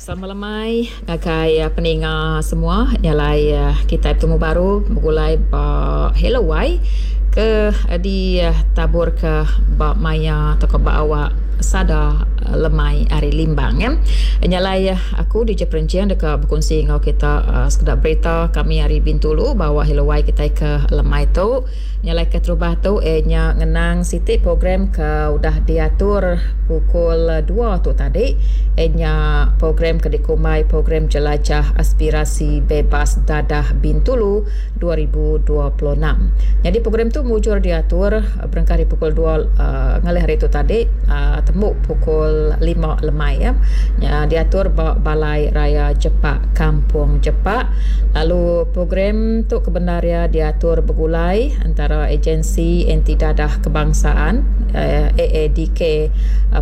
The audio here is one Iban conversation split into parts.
Selamat lemai ngagai peninga semua nya alai kitai betemu baru begulai ba Hello Wai ke ditabur ke ba maya tauka ba awak sada lemai ari Limbang. Nya alai aku DJ Perenching deka bekunsi enggau kita sekeda berita kami ari Bintulu ba awak Hello Wai kitai ke lemai tu. Nya alai keterubah tu iya nya ngenang siti program ke udah diatur pukul dua tu tadi iya nya program ke dikumbai Program Jelajah Aspirasi Bebas Dadah Bintulu 2026. Nyadi program tu mujur diatur berengkah ari pukul dua uhh ngalih hari tu tadi uhh tembu pukul lima lemai. Nya diatur ba Balai Raya Jepak Kampung Jepak lalu program tu kebendar iya diatur begulai entara Agensi Anti Dadah Kebangsaan, AADK,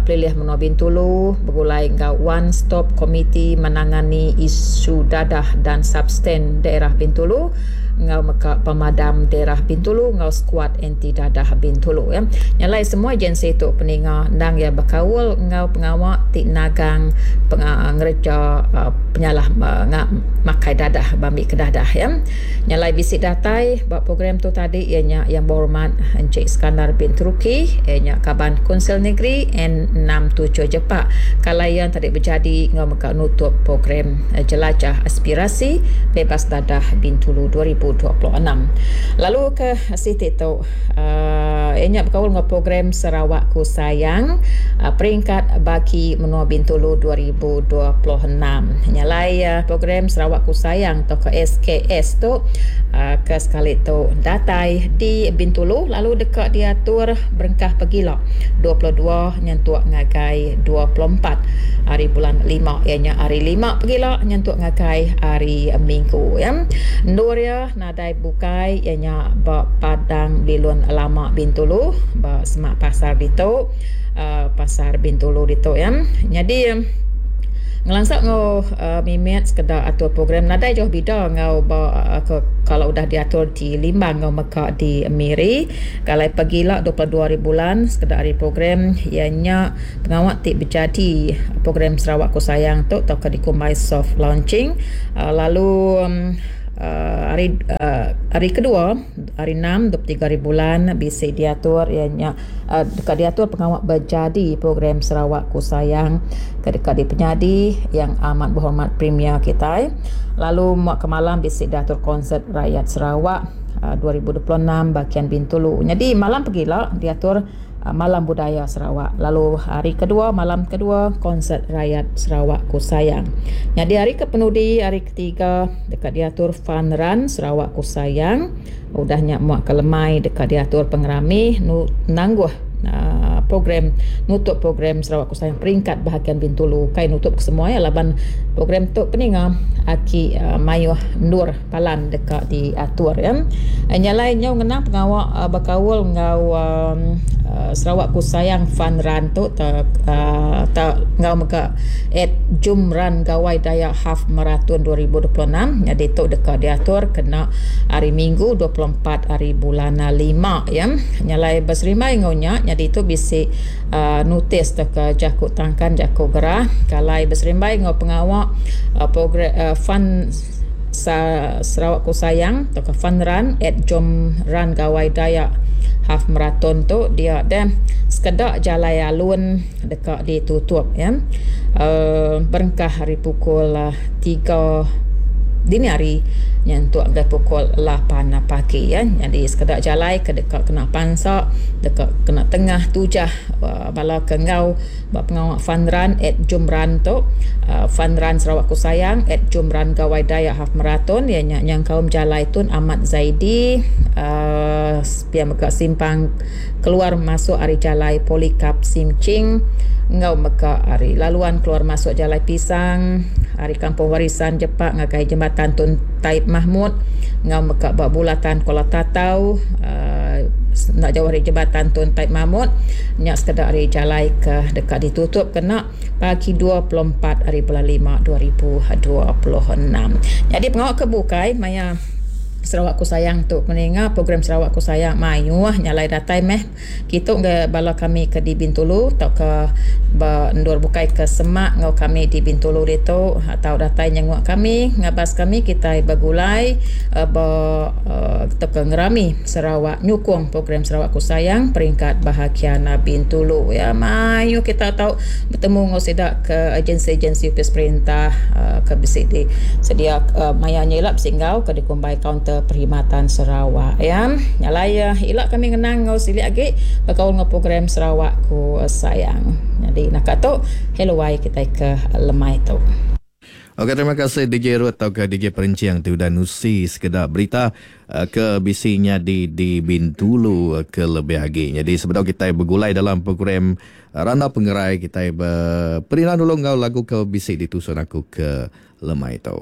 Pelilih Menua Bintulu begulai enggau One Stop Komiti Menangani Isu Dadah dan Substan Daerah Bintulu enggau mega Pemadam Daerah Bintulu enggau Skuad Anti Dadah Bintulu. Nya alai semua agensi tu peninga endang iya bekaul enggau pengawa ti nagang ngereja penyalah makai dadah ba ambi ke dadah. Nya alai bisi datai ba program tu tadi iya nya Yang Berhormat Encik Skandar bin Teruki iya nya Kaban Kunsil Negeri N67 Jepak kalai iya tadi bejadi enggau mega nutup program Jelajah Aspirasi Bebas Dadah Bintulu 2026. Lalu ke siti tu uhh iya nya bekaul enggau program Sarawakku Sayang peringkat bagi menua Bintulu 2026. Nya alai program Sarawakku Sayang tauka SKS tu ke sekali tu datai di Bintulu lalu deka diatur berengkah pegila 22 nyentuk ngagai 24 hari bulan lima iya nya hari lima pegila nyentuk ngagai hari minggu. Endur iya nadai bukai iya nya ba Padang Bilun Lama Bintulu ba semak pasar ditu pasar Bintulu ditu. Nyadi ngelansa enggau mimit sekeda atur program nadai jauh bida enggau ba ke kalau udah diatur di Limbang enggau mega di Miri. Kalai pegila 22 hari bulan sekeda ari program iya nya pengawa ti bejadi program Sarawakku Sayang tu tauka dikumbai soft launching lalu hari hari kedua hari enam 23 hari bulan bisi diatur iya nya deka diatur pengawa bejadi program Sarawakku Sayang ke deka dipenyadi Yang Amat Berhormat Premier kitai lalu muak ke malam bisi diatur konsert rakyat Sarawak 2026 bahagian Bintulu. Nyadi malam pegila diatur Malam Budaya Sarawak lalu hari kedua malam kedua konsert rakyat Sarawakku Sayang. Nyadi hari ke penudi hari ketiga deka diatur Fun Run Sarawakku Sayang. Udah nya muak ke lemai deka diatur pengerami nangguh program nutup program Sarawak Ku Sayang peringkat bahagian Bintulu. Ukai nutup kesemua iya laban program tu peninga aki mayuh endur palan deka diatur iya. Nya alai nyau ngenang pengawa bekaul enggau Sarawak Ku Sayang Fun Run tu enggau mega at Jom Run Gawai Dayak Half Marathon 2026 nyadi tu deka diatur kena hari Minggu 24 hari bulan lima ya. Nya alai beserimbai enggau nya nyadi tu bisi uhh notis tauka jaku tangkan jaku gerah ke alai beserimbai enggau pengawa uhh program uhh fun Sarawak Ku Sayang tauka Fun Run at Jom Run Gawai Dayak Half Marathon tu dia deh sekeda jalai alun deka ditutup ya uhh berengkah ari pukul tiga dini hari nyentuk ngagai pukul lapan pagi ya. Nyadi sekeda jalai ke deka kena pansa deka kena tengah tujah bala ke enggau Ba pengawa Fun Run at Jom Run tu, Fun Run Sarawakku Sayang at Jom Run Gawai Dayak Half Marathon iya nya nyengkaum Jalai Tun Ahmad Zaidi uhh pia mega simpang keluar masuk ari Jalai Polycarp Sim Ching enggau mega ari laluan keluar masuk Jalai Pisang ari Kampung Warisan Jepak ngagai Jembatan Tun Taib Mahmud enggau mega ba Bulatan Kuala Tatau uhh enda jauh ari Jembatan Tun Taib Mahmud. Nya sekeda ari jalai ke deka ditutup kena pagi 24 ari bulan lima 2026. Nyadi pengawa ke bukai maya. Sarawakku Sayang tu peninga program Sarawakku Sayang mayuh nya alai datai meh kitu ngagai bala kami ke di Bintulu tauka ba endur bukai ke semak enggau kami di Bintulu ditu tau datai nyenguk kami ngabas kami kitai begulai ba tauka ngerami Sarawak nyukung program Sarawakku Sayang peringkat bahagian Bintulu. Ya mayuh kita tau betemu enggau sida ke agensi-agensi opis perintah ke bisi di sedia maya nya ila bisi enggau ke dikumbai kaunter perkhidmatan Sarawak ya. Nya alai ila kami ngenang enggau silik agi bekaul enggau program Sarawakku Sayang. Nyadi naka tu hello wai kitai ke lemai tu. Ok terima kasih DJ Ruth tauka DJ Perenching ti udah nusi sekeda berita ke bisi nyadi di Bintulu ke lebih agi. Nyadi sebedau kitai begulai dalam program Randau Pengerai kitai beperindang dulu enggau lagu ke bisi ditusun aku ke lemai tu.